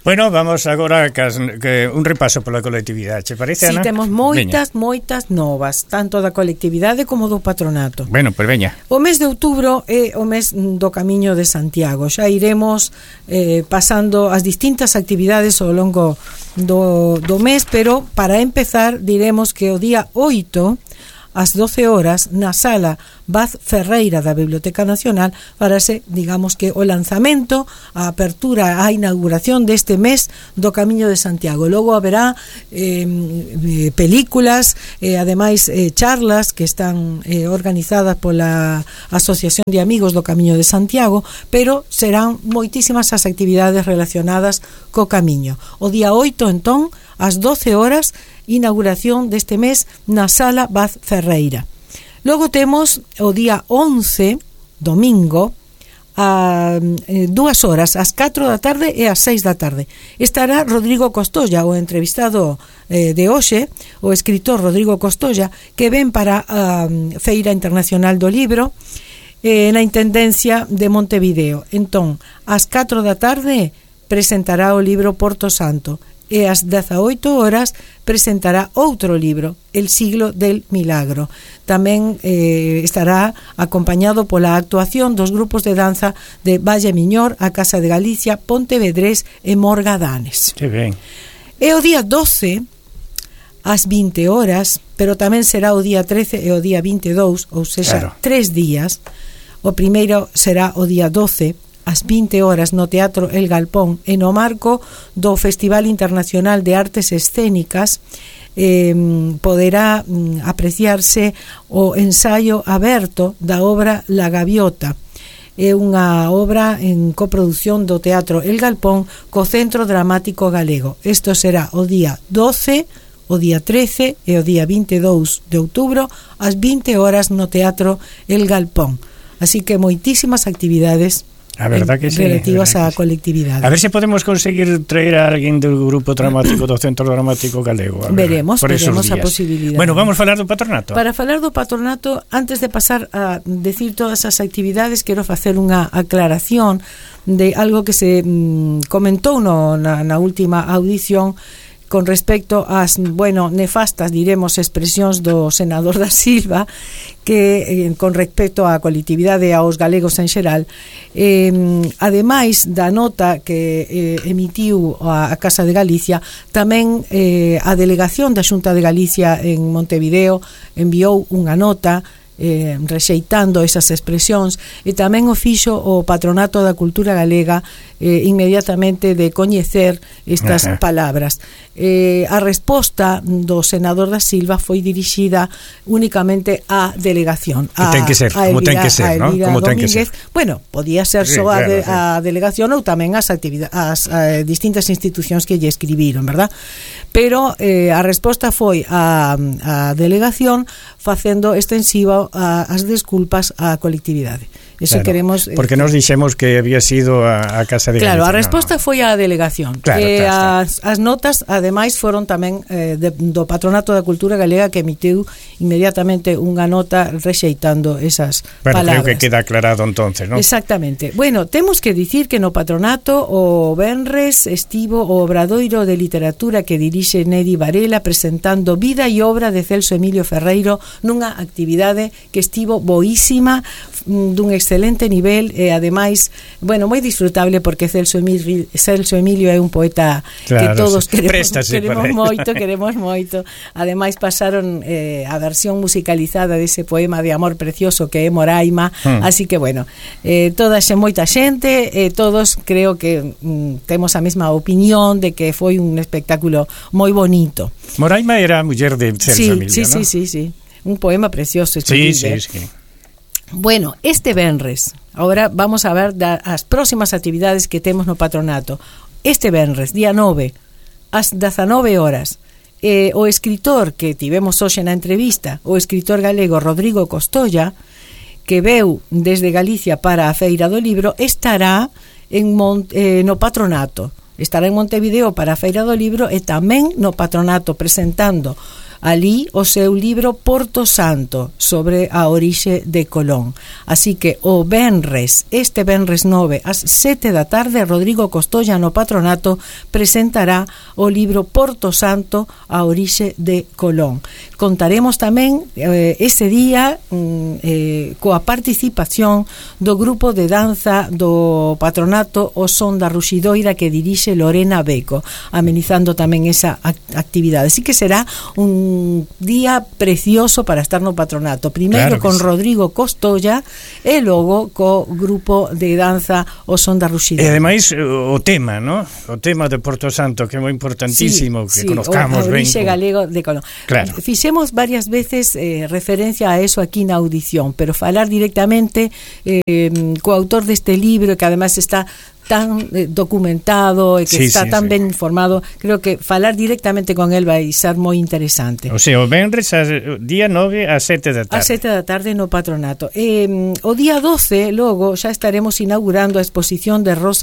Bueno, vamos agora que un repaso pola colectividade, che parece, Ana? Si, temos moitas novas, tanto da colectividade como do patronato. Bueno, pois veña. O mes de outubro é o mes do Camiño de Santiago. Xa iremos pasando as distintas actividades ao longo do mes, pero para empezar diremos que o día 8 ás 12 horas na sala Vaz Ferreira da Biblioteca Nacional farase, digamos que o lanzamento, a apertura, a inauguración deste mes do Camiño de Santiago. Logo haberá películas, ademais charlas que están organizadas pola Asociación de Amigos do Camiño de Santiago, pero serán moitísimas as actividades relacionadas co Camiño. O día 8, entón, ás 12 horas, inauguración deste mes na sala Vaz Ferreira. Logo temos o día 11, domingo, a 2 horas, ás 4 da tarde e ás 6 da tarde. Estará Rodrigo Costolla, o entrevistado de hoxe, o escritor Rodrigo Costolla, que ven para a Feira Internacional do Libro na Intendencia de Montevideo. Entón, ás 4 da tarde presentará o libro Porto Santo, e ás 18 horas presentará outro libro, El siglo del milagro. Tamén estará acompañado pola actuación dos grupos de danza de Valle Miñor, a Casa de Galicia, Pontevedrés e Morgadanes. Que ben. E o día 12 ás 20 horas, pero tamén será o día 13 e o día 22, ou seja, claro, 3 días. O primeiro será o día 12 ás 20 horas no Teatro El Galpón, e no marco do Festival Internacional de Artes Escénicas poderá apreciarse o ensaio aberto da obra La Gaviota. É unha obra en coproducción do Teatro El Galpón co Centro Dramático Galego. Isto será o día 12, o día 13 e o día 22 de outubro ás 20 horas no Teatro El Galpón. Así que moitísimas actividades A verdad que sí, relativas á colectividade. A ver se podemos conseguir traer a alguén do grupo dramático do Centro Dramático Galego. Veremos a posibilidade. Bueno, vamos falar do patronato. Para falar do patronato, antes de pasar a decir todas as actividades, quero facer unha aclaración de algo que se comentou na última audición con respecto ás, nefastas, diremos, expresións do senador da Silva, que con respecto á colectividade e aos galegos en xeral, ademais da nota que emitiu a Casa de Galicia, tamén a delegación da Xunta de Galicia en Montevideo enviou unha nota rexeitando esas expresións, e tamén o fixo o Patronato da Cultura Galega inmediatamente de coñecer estas palabras. A resposta do senador da Silva foi dirixida únicamente á delegación, ten que ser, como ten que ser, ¿no? Como ten que ser. Bueno, podía ser só a delegación ou tamén as distintas institucións que lle escribiron, verdad? Pero a resposta foi a delegación facendo extensiva as desculpas á colectividade. Eso claro, queremos, porque nos dixemos que había sido a Casa de Galicia. Claro, a resposta foi a delegación. Claro, as notas, ademais, foron tamén do Patronato da Cultura Galega, que emitiu inmediatamente unha nota rexeitando esas palabras. Creo que queda aclarado entonces, ¿no? Exactamente. Bueno, temos que dicir que no Patronato o venres estivo o Obradoiro de Literatura que dirixe Nedi Varela, presentando vida e obra de Celso Emilio Ferreiro, nunha actividade que estivo boísima, dun excelente nivel, e ademais, moi disfrutable, porque Celso Emilio é un poeta, claro, que todos queremos moito. Ademais pasaron a versión musicalizada dese poema de amor precioso que é Moraima, así que moita xente, todos creo que temos a mesma opinión de que foi un espectáculo moi bonito. Moraima era a muller de Celso Emilio, ¿no? Sí, un poema precioso. Sí. Bueno, este venres, ahora vamos a ver as próximas actividades que temos no patronato. Este venres, día 9, ás 19 horas, o escritor que tivemos hoxe na entrevista, o escritor galego Rodrigo Costolla, que veu desde Galicia para a Feira do Libro, estará no patronato. Estará en Montevideo para a Feira do Libro e tamén no patronato presentando alí o seu libro Porto Santo, sobre a orixe de Colón. Así que o venres, este venres 9 ás 7 da tarde, Rodrigo Costolla no Patronato presentará o libro Porto Santo, a orixe de Colón. Contaremos tamén ese día coa participación do grupo de danza do Patronato O Son da Ruxidoira, que dirixe Lorena Beco, amenizando tamén esa actividade. Así que será un día precioso para estar no Patronato, primeiro con Rodrigo Costolla e logo co grupo de danza O Son da Ruxidoira. E ademais o tema, ¿no? O tema de Porto Santo, que é moi importantísimo, que conozcamos ben. O orixe galego de Colón. Claro. Fixemos varias veces referencia a eso aquí na audición, pero falar directamente co autor deste libro, que además está tan documentado e que está tan ben informado, creo que falar directamente con él vai ser moi interesante. O sea, o venres día 9 a 7 da tarde. A 7 da tarde no Patronato. O día 12, logo, xa estaremos inaugurando a exposición de Rosa